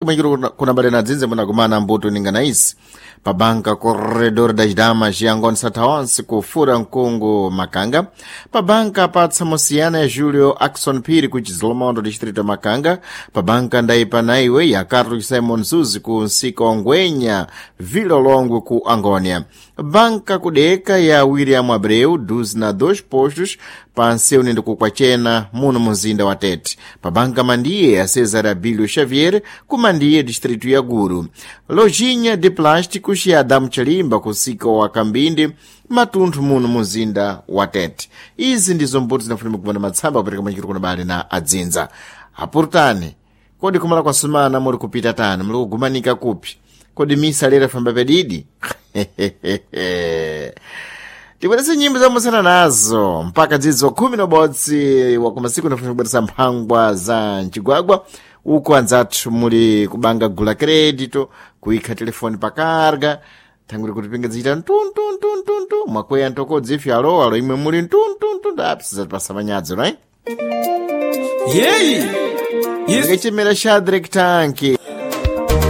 Kumwechero kunabale na dzinze munakumana mbuto ningana isi pabanka Corredor das Damas yangon Sataonse kufura mkungu Makanga, pabanka pa Tsamosiyana ya Julio Axon Phiri ku Chizilomondo distrito Makanga, pabanka Ndaipa Naiwe ya Carlos Simon Zuzi ku Nsika wa Ngwenya Vilolongwe ku Angônia, banka kudeka ya William Abreu 12 na 2 postos pa Nseuni ndi kukwachena muno muzinda wa Tete, pabanka Mandiye ya Cesar Abílio Xavier ku Mandiye distrito ya Guru, lojinha de plásticos ya Adamu Chalimba kusika wa Kambinde matunthu muno muzinda wa Tete. Izi ndizo mbuto zinafunika kupanda matsamba kupereka machiro kuna bale na adzinza apurutani. Kodi kumala kwa sumana muli kupita tani, muli kugumanika kupi? Kodi misa lero famba pedidi? Tibweretse nyimbo zamusana nazo mpaka dzidzo 11 wakumasiku nafuna kubweresa mphangwa za mchigwagwa. Uko anzathu muli kubanga gula crédito, kuikha telefoni pakarga thanguri kuti pinga zichita ntuntuntuntuntu, mwakweya ntokodzi ife alo imwe muli ntuntuntu apsizatipasa manyadzo, right? Yeyi. Yes. Ngachimera Shadrack Tanki.